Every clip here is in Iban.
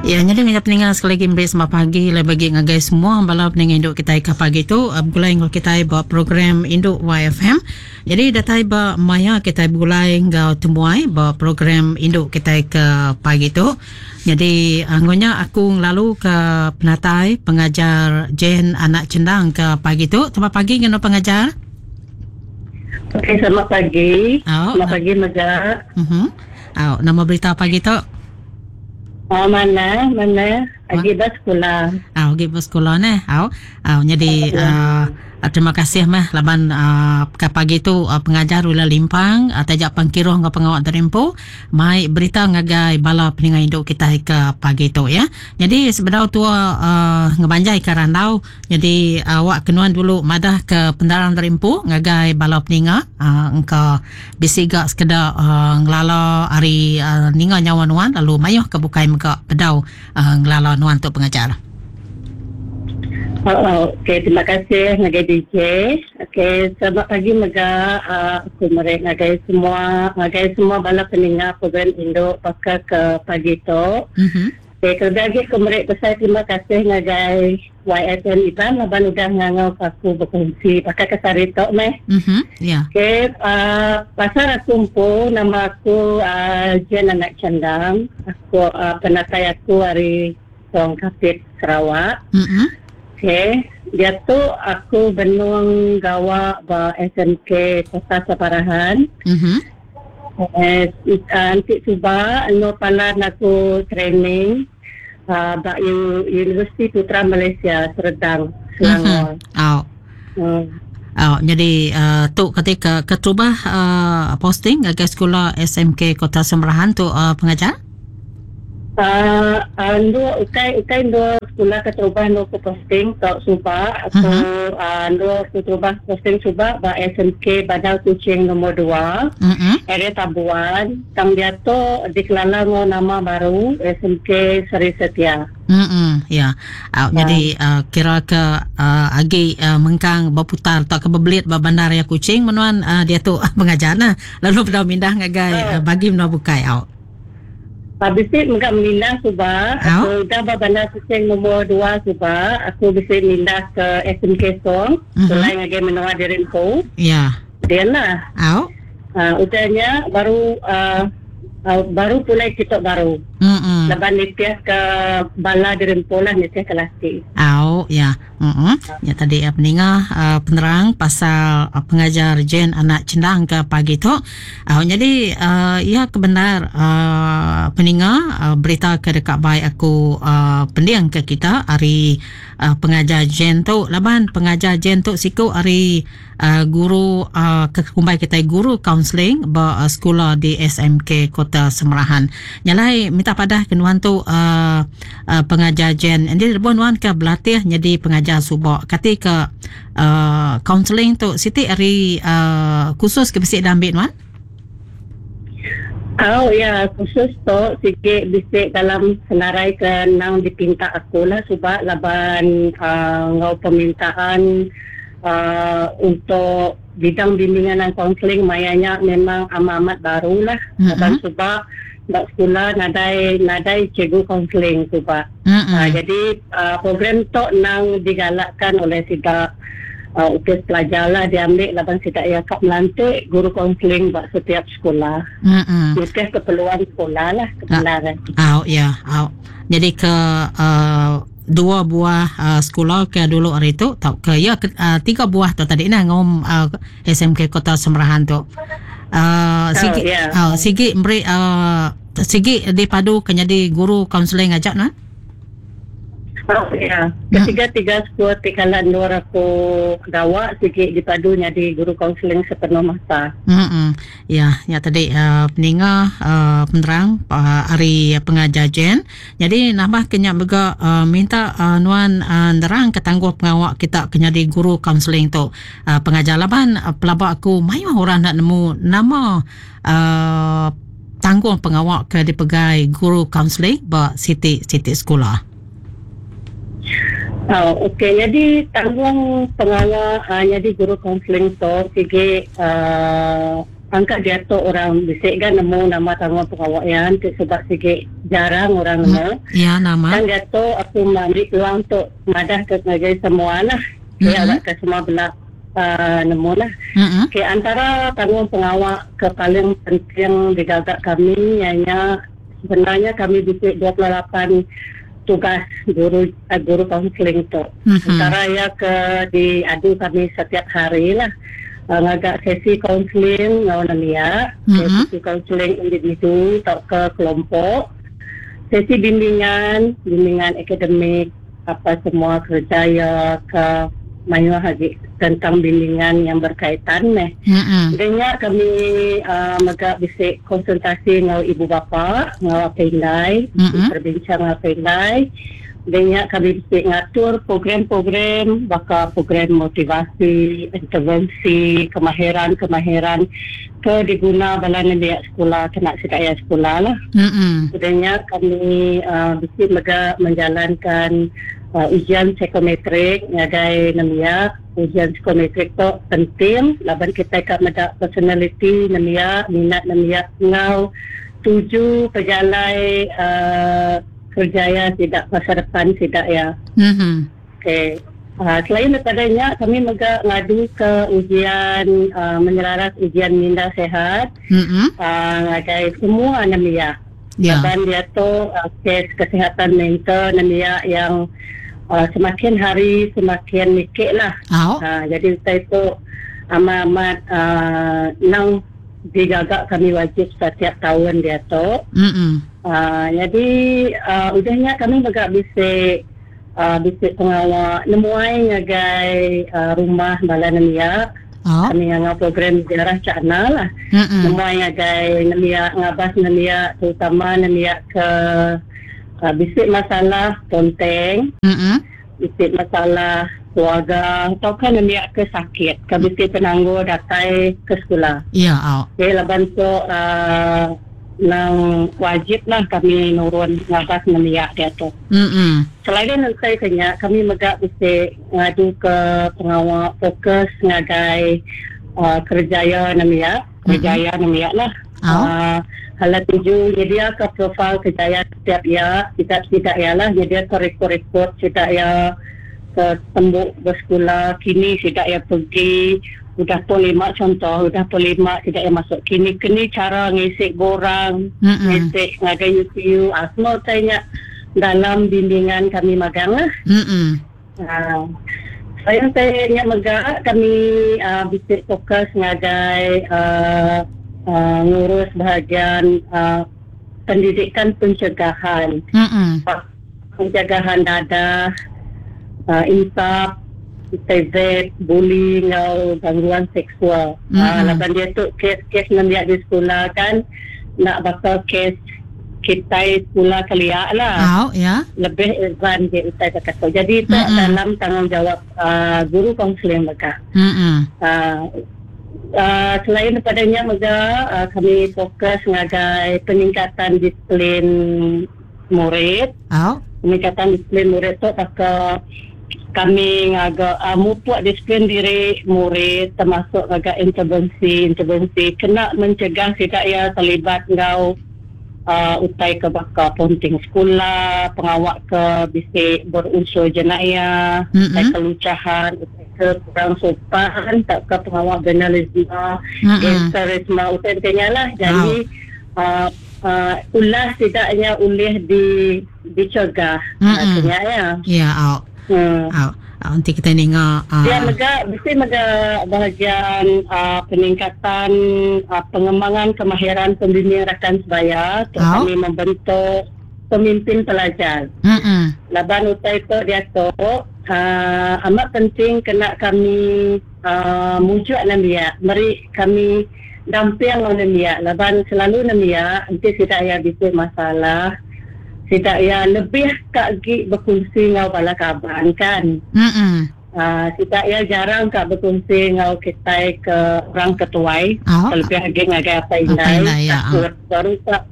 Ya, nyadi ngagai peninga sekali lagi meri selamat pagi lebih agi ngagai semua bala peninga indu kitai ke pagi tu begulai enggau kitai ba program Indu YFM. Jadi datai ba maya kitai begulai enggau temuai ba program indu kitai ke pagi tu. Nyadi enggau nya aku ngelalu ke penatai pengajar Jane Anak Chendang ke pagi tu. Selamat pagi ngenu pengajar. Okey, selamat pagi. Oh, selamat pagi mega. Mhm. Uh, nama berita pagi tu? Oh, mana, mana. Agi ba sekula. Ah, agi ba sekula neh. Au. Au nyadi uh, terima kasih meh laban uh, ke pagi tu uh, pengajar Wila Limpang uh, taja pangkiruh enggau pengawa terimpu mai berita ngagai bala peninga indu kitai ke pagi tu ya. Nyadi sebedau tua uh, ngebanjai ke randau Nyadi awak ke nuan dulu madah ke pendarang diri empu ngagai bala peninga engka bisi ga sekeda ngelala ari ninga nyawa nuan lalu mayuh ke bukai mega bedau ngelala nuan tu pengajar. Okey terima kasih ngagai DJ. Okey selamat pagi mega aku meri ngagai semua ngagai semua bala peninga program indu baka ke pagi tu. Okey, kelebih agi aku meri besai terima kasih ngagai YSN Iban laban udah ngangau ke aku bekongsi baka ke sehari tu meh. Mhm, ya. Okey, uh, pasal aku empu nama aku uh, Jen Anak Chandang. Aku uh, penatai aku ari Song Kapit Sarawak. Mhm. Okey, diatu aku benung gawa ba SMK Kota Samarahan. Mhm. Eh, enti suba enggau palan aku training uh, ba Universiti Putra Malaysia Serdang, Selangor. Mm-hmm. Au. Au, jadi uh, tu ketika keterubah uh, posting ngagai sekula SMK Kota Samarahan tu uh, pengajar? Uh, endu ukai ukai endu sekula keterubah endu aku posting tok suba aku uh-huh. uh, endu keterubah posting suba ba SMK Bandar Kuching nombor 2 uh-huh. area Tabuan tang diatu dikelala enggau nama baru SMK Seri Setia. Hmm ya. Uh, jadi uh, kira ke uh, agi uh, mengkang berputar atau ke berbelit ba bandar ya Kuching menuan uh, diatu pengajar nah. Lalu bedau mindah ngagai uh, bagi menua bukai au. Bisi mega mindah suba, aku udah ba Bandar Kuching nombor dua suba, aku bisi mindah ke SMK Song, pulai ngagai menua diri empu. Ya. Din lah. Au. Udah nya baru baru pulai kitu baru. Laban nitih ke bala diri empu lah nitih ke laki. Au ya. Heeh. Nya tadi peninga penerang pasal pengajar Jane anak Chendang ke pagi tu. Nyadi iya ke bendar peninga berita ke deka bai aku pending ke kita ari pengajar Jane tu laban pengajar Jane tu siku ari Guru ke kumbai kitai guru kaunseling ba sekula di SMK Kota Semerahan. Nya alai minta padah ke nuan tu pengajar Jen. Enti lebuh nuan ke belatih nyadi pengajar suba kati ke kaunseling tu siti ari kursus ke bisi diambi nuan? Au iya kursus tu sigi bisi dalam senarai ke endang dipinta aku lah suba laban enggau permintaan Untuk bidang bimbingan dan kaunseling maya nya memang amat-amat baru lah laban suba ba sekula nadai nadai cikgu kaunseling suba. Jadi program tu endang digalakkan oleh sida opis pelajar lah diambi laban sida iya ka melantik guru kaunseling ba setiap sekula. Nitih keperluan sekula lah kebenar. Au ya au. Jadi ke dua buah sekula ke dulu hari tu tauka iya ke tiga buah tu tadi nah ngom SMK Kota Semerahan tu. Sigi sigi meri sigi dipadu ke nyadi guru kaunseling aja nah. Oh iya. Ketiga-tiga sekula ti kala endur aku gawa sigi dipadu nyadi guru kaunseling sepenuh masa. Heeh. Ya, nya tadi peninga penerang ari pengajar Jane. Nyadi nambah ke nya mega minta nuan nerang ke tangguh pengawa kita ke nyadi guru kaunseling tu pengajar laban pelaba aku mayuh orang enda nemu nama tanggung pengawa ke dipegai guru kaunseling ba siti-siti sekula. Au okey nyadi tanggung pengawa nyadi guru kaunseling tu sigi. Angka diatu orang bisi ga nemu nama tanggung pengawa iya enti suba sigi jarang orang nemu. Ya nama. Tang diatu aku ngambi peluang tu madah ke ngagai semua lah. Iya mm-hmm. ke semua bela nemu lah. Mm-hmm. Okay, antara tanggung pengawa ke paling penting digaga kami iya nya sebenarnya kami bisi 28 tugas guru guru kaunseling tu. Mm-hmm. Antara iya ke diadu kami setiap hari lah. Ngaga sesi kaunseling enggau nembiak, mm-hmm. sesi kaunseling individu tauka kelompok, sesi bimbingan, bimbingan akademik, apa semua kerja iya ke mayuh agi tentang bimbingan yang berkaitan meh. Mm-hmm. Dan nya kami mega bisi konsultasi enggau ibu bapa, enggau apai indai, mm-hmm. berbincang enggau apai indai. Udah nya kami bisi ngatur program-program baka program motivasi, intervensi, kemahiran-kemahiran ke diguna bala nembiak sekula kena sida iya sekula lah. Udah nya kami bisi mega menjalankan ujian psikometrik ngagai nembiak. Ujian psikometrik tu penting laban kitai ka meda personaliti nembiak, minat nembiak enggau tuju pejalai Kerjaya sida masa depan sida iya. Okey. Selain daripada nya kami mega ngaduka ujian menyeraras ujian minda sihat ngagai semua nembiak. Laban diatu kes kesihatan mental nembiak yang semakin hari semakin niki lah. Jadi utai tu amat-amat nang digaga kami wajib setiap taun diatu. Nyadi udah nya kami mega bisi bisi pengawa nemuai ngagai rumah bala nembiak. Kami ngangau program ziarah cakna lah. Nemuai ngagai nembiak ngabas nembiak terutama nembiak ke bisi masalah ponteng, bisi masalah keluarga tauka nembiak ke sakit ke bisi penanggul datai ke sekula. Jadi laban tu Nang wajib lah kami nurun ngabas nembiak diatu. Selain utai ke nya, kami mega bisi ngaduka pengawa fokus ngagai kerejaya nembiak, kerejaya nembiak lah. Hala tuju nyediaka profil kerejaya setiap iya, sida sida iya lah nyediaka rekod-rekod sida iya ke tembu besekula kini sida iya pegi. Udah pun lima contoh, udah pun lima sida iya masuk kini keni chara ngisi borang, ngisi ngagai UPU, ah semua utai nya dalam bimbingan kami magang lah. Ah selain utai nya mega kami ah bisi fokus ngagai ah ngurus bahagian ah pendidikan pencegahan. Pencegahan dadah, insap, TZ, buli enggau gangguan seksual. Laban diatu kes-kes nembiak di sekula kan enda baka kes kitai sekula kelia lah. Au ya. Lebih advance agi utai baka tu. Jadi tu dalam tanggungjawab guru kaunseling mega. Selain daripada nya mega kami fokus ngagai peningkatan disiplin murid. Au. Peningkatan disiplin murid tu baka kami ngaga mupuk disiplin diri murid termasuk ngaga intervensi-intervensi kena mencegah sida iya terlibat enggau utai ke baka ponting sekula, pengawa ke bisi berunsur jenayah, utai kelucahan, utai ke kurang sopan tauka pengawa vandalisme, gangsterisme, utai baka nya lah. Jadi ulah sida nya ulih di dicegah mm nya ya. Ya au. Au. Enti kitai ninga Pia mega bisi mega bahagian peningkatan pengembangan kemahiran pembimbing rakan sebaya tu kami membentuk pemimpin pelajar. Laban utai tu diatu amat penting kena kami mujuk nembiak meri kami Damping enggau nembiak laban selalu nembiak enti sida iya bisi masalah sida iya lebih ka agi bekunsi enggau bala kaban kan. Aaa sida iya jarang ka bekunsi enggau kitai ke orang ke tuai kelebih agi ngagai apai indai takut baru ka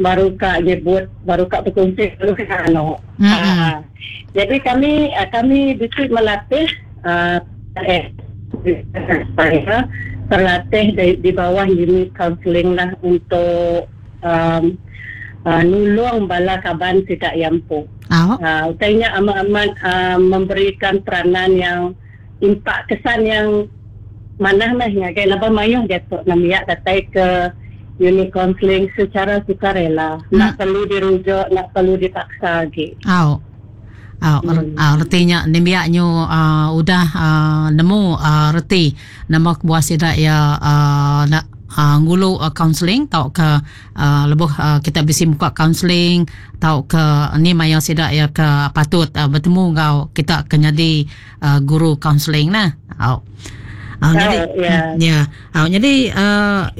baru ka nyebut baru ka bekunsi baru ka anu. Aaa jadi kami kami bisi melatih aaa. terlatih di bawah unit kaunseling lah untuk nulung bala kaban sida iya empu. Utai nya amat-amat memberikan peranan yang impak kesan yang manah meh ngagai laban mayuh diatu nembiak datai ke unit kaunseling secara sukarela. Enda perlu dirujuk, enda perlu dipaksa agi. Au. Au, reti nya nembiak nyu udah nemu reti nama kebuah sida iya enda ngulu kaunseling tauka lebuh kita bisi muka kaunseling tauka ni maya sida iya ke patut betemu enggau kita ke nyadi guru kaunseling nah. Au. Au nyadi ya. Au nyadi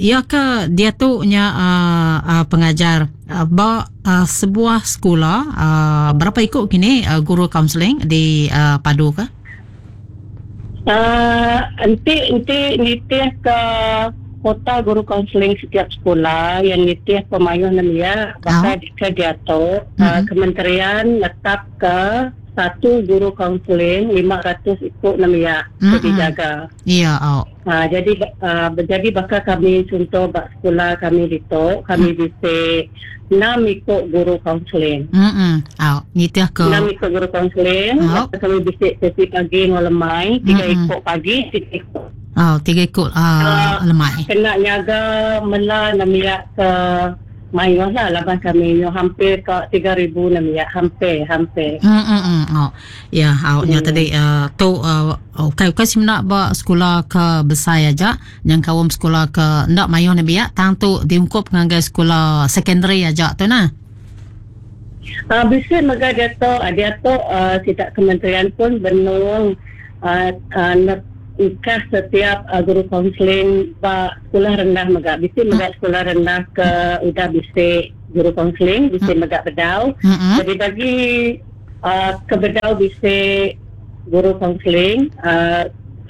iya ke diatu nya pengajar ba sebuah sekula berapa iku kini guru kaunseling di padu ka? Enti enti nitih ke kuota guru kaunseling setiap sekula yang nitih pemayuh nembiak baka ke diatu kementerian netapka satu guru kaunseling 500 iku nembiak ke dijaga. Iya au. Jadi jadi baka kami chunto ba sekula kami ditu kami bisi enam iku guru kaunseling. Au nitih ke enam iku guru kaunseling kami bisi sesi pagi enggau lemai tiga iku pagi tiga iku. Au tiga iku lemai. Kena nyaga mela nembiak ke mayuh lah laban kami nyu hampir ka 3000 nembiak hampir hampir. Au. Ya au nya tadi tu ukai ukai semina ba sekula ke besai aja nyengkaum sekula ke enda mayuh nembiak tang tu diungkup ngagai sekula secondary aja tu nah. Bisi mega diatu diatu sida kementerian pun benung engkah setiap guru kaunseling ba sekolah rendah mega. Bisi mega sekolah rendah ke udah bisi guru kaunseling, bisi mega bedau. Jadi bagi ke bedau bisi guru kaunseling,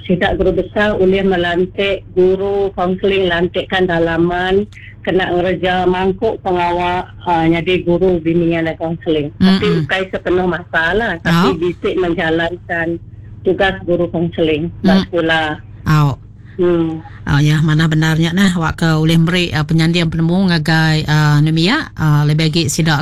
sida guru besar ulih melantik guru kaunseling lantikan dalaman kena ngereja mangku pengawa nyadi guru bimbingan dan kaunseling. Tapi ukai sepenuh masa lah, tapi bisi menjalankan tugas guru kaunseling ba sekula. Au. Au ya manah bendar nya nah awak ke ulih meri penyanding penemu ngagai nembiak lebih agi sida.